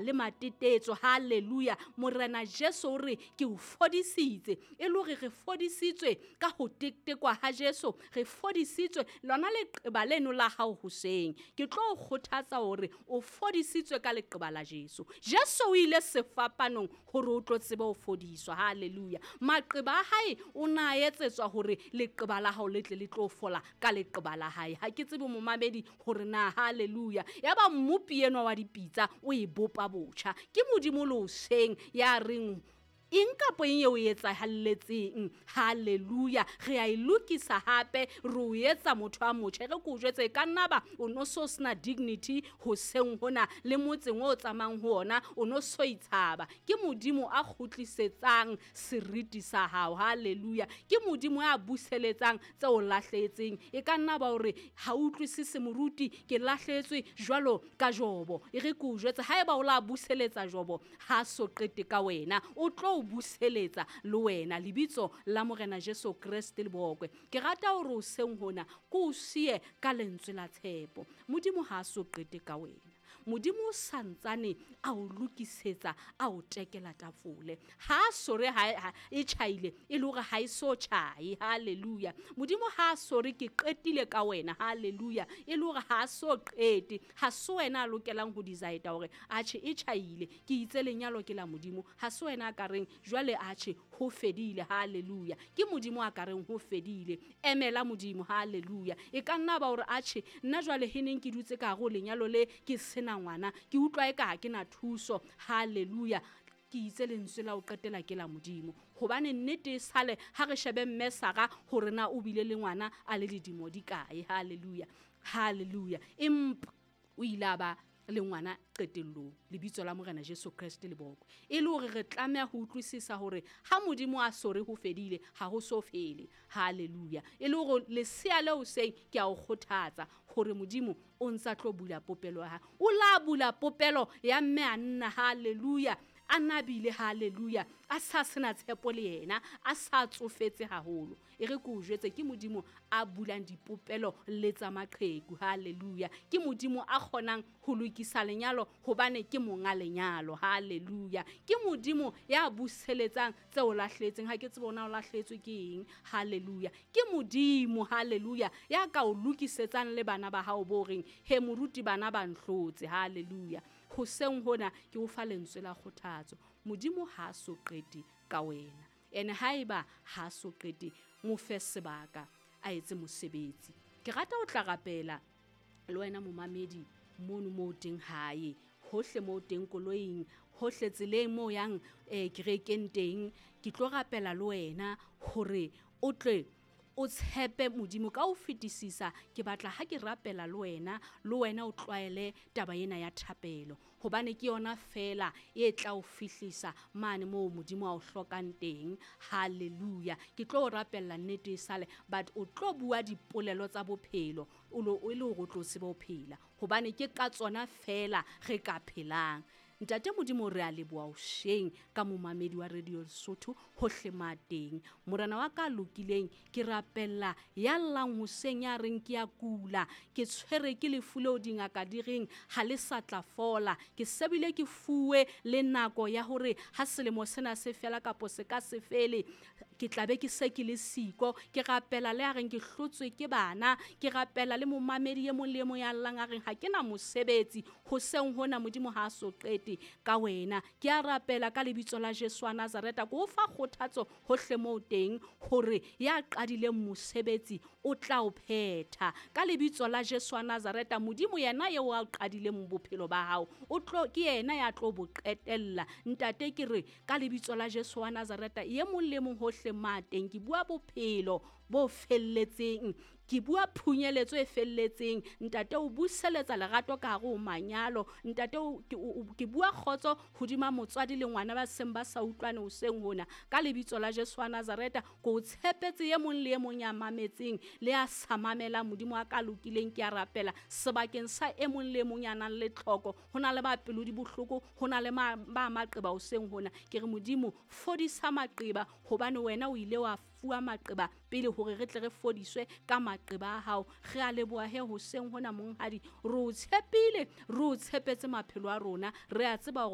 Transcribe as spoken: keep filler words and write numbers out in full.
Le matetetso, hallelujah. Morena Jesu o re ke o fodisitse, e le hore re fodisitswe ka ho tetekwa ha Jesu, re fodisitswe lona leqeba leno la hao hoseng. Ke tlo o kgothatsa hore o fodisitswe ka leqeba la Jesu. Jesu o ile sefapanong hore o tlo tsebe ho fodiswa, hallelujah. Maqeba a hae o na etsetswa hore leqeba la hao le tle le tlo fola ka leqeba la hae. Ha ke tsebe momamedi hore na, hallelujah. Yaba mmopi enwa wa dipitsa o e bopa botjha. Ke Modimo le hoseng ya reng eng kapa eng eo e etsahalletseng, hallelujah, re a e lokisa hape, re o etsa motho a motjha. E re ke o jwetse, e ka nna ba o no so sena dignity hoseng hona, le motseng o tsamayang ho ona o no so itshaba. Ke Modimo a kgutlisetsang seriti sa hao, hallelujah. Ke Modimo a buseletsang tse o lahlehetseng. E ka nna ba hore ha o utlwisise moruti, ke lahlehetswe jwalo ka Jobo. E re ke o jwetse, haeba o la buseletsa Jobo, ha so qete ka wena, o tlo buseletsa le wena. Lebitso la Morena Jesu Kreste le bokwe. Ke rata hore hoseng hona ke o siye ka lentswe la tshepo. Modimo ha a so qete ka wena. Modimo o santsane a o lokisetsa, a o tekela tafole. Ha a sore ha, ha e tjhaile, e le hore ha e so tjhae, hallelujah. Modimo ha a sore ke qetile ka wena, hallelujah, e le hore ha a so qete. Ha se wena a lokelang ho decide hore atjhe e tjhaile, ke itse lenyalo ke la Modimo. Ha se wena a ka reng jwale atjhe ho fedile, hallelujah. Ke Modimo a ka reng ho fedile. Emela Modimo, hallelujah. E ka nna ba hore atjhe nna jwale he neng ke dutse ka hare ho lenyalo le ke sena ngwana, ke utlwa eka ha ke na thuso, hallelujah. Ke itse lentswe la ho qetela ke la Modimo, hobane nnete e sale ha re shebe mme Sara hore na o bile le ngwana a le ledimo di kae, hallelujah, hallelujah. Empa o ile a ba le ngwana qetellong. Lebitso la Morena Jesu Kreste le bokwe. E le hore re tlameha ho utlwisisa hore ha Modimo a sore ho fedile, ha ho so fele, hallelujah. E le hore lesea leo seng ke a o kgothatsa hore Modimo o ntsa tlo bula popelo ya hae. O la bula popelo ya mme a nna, hallelujah, a nabile, hallelujah, a sa sena tshepo le yena, a sa tsofetse haholo. E re ke o jwetse, ke Modimo a bulang dipopelo le tsa maqheku, hallelujah. Ke Modimo a kgonang ho lokisa lenyalo hobane ke monga lenyalo, hallelujah. Ke Modimo ya buseletsang tse o lahlehetseng. Ha ke tsebe hore na o lahlehetswe ke eng, hallelujah. Ke Modimo, hallelujah, ya ka o lokisetsang le bana ba hao bo reng he moruti bana ba nhlotse, hallelujah. Hoseng hona ke o fa lentswe la kgothatso. Modimo ha a so qete ka wena, ene haeba ha a so qete, mo fe sebaka a etse mosebetsi. Ke rata ho tla rapela le wena momamedi mono moo teng hae, hohle moo teng koloing, hohle tseleng moo yang, eh, kerekeng teng. Ke tlo rapela le wena hore o tle o tshepe Modimo ka ho fetisisa. Ke batla ha ke rapela le wena, le wena o tlwaele taba ena ya thapelo, hobane ke yona feela e tla o fihlisa mane moo Modimo a o hlokang teng, hallelujah. Ke tlo o rapella nnete e sale, but o tlo bua dipolelo tsa bophelo, o lo, e le hore o tlo tsebe ho phela, hobane ke ka tsona feela re ka phelang. Ntate Modimo, re a leboha hoseng ka momamedi wa Radio Lesotho hohle ma teng. Morena wa ka lokileng, ke rapella ya llang hoseng ya reng ke a kula, ke tshwere ke lefu leo dingaka di reng ha le sa tla fola. Ke sebile ke fuwe le nako ya hore ha selemo sena se fela kapo se ka se fele, ke tla be ke se ke le siko. Ke rapela le a reng ke hlotswe ke bana, ke rapela le momamedi e mong le e mong ya llang a reng ha ke na mosebetsi. Hoseng hona Modimo ha a so qete ka wena. Ke a rapela ka lebitso la Jesu wa Nazareta, ke o fa kgothatso hohle moo teng hore ya qadileng mosebetsi o tla o phetha. Ka lebitso la Jesu wa Nazareta, Modimo yena eo a qadileng bophelo ba hao, o tlo, ke yena ya tlo bo qetella. Ntate, ke re ka lebitso la Jesu wa Nazareta, e mong le mong hohle ma teng, ke bua bophelo bo felletseng, ke bua phunyeletso e felletseng. Ntate, o buseletsa lerato ka hare ho manyalo. Ntate, o, ke, o, o, ke bua kgotso hodima motswadi le ngwana ba seng ba sa utlwane hoseng hona. Ka lebitso la Jesu wa Nazareta, ke o tshepetse e mong le e mong ya mametseng le ya sa mamelang. Modimo wa ka lokileng, ke a rapela sebakeng sa e mong le e mong ya nang le tlhoko. Ho na le ba pelo di bohloko, ho na le ma-, ba maqeba hoseng hona. Ke re Modimo, fodisa maqeba, hobane wena o ile wa fuwa maqeba pele hore re tle re fodiswe ka maqeba a hao. Re a leboha he hoseng hona, monghadi, re o tshepile, re o tshepetse maphelo a rona, re a tseba hore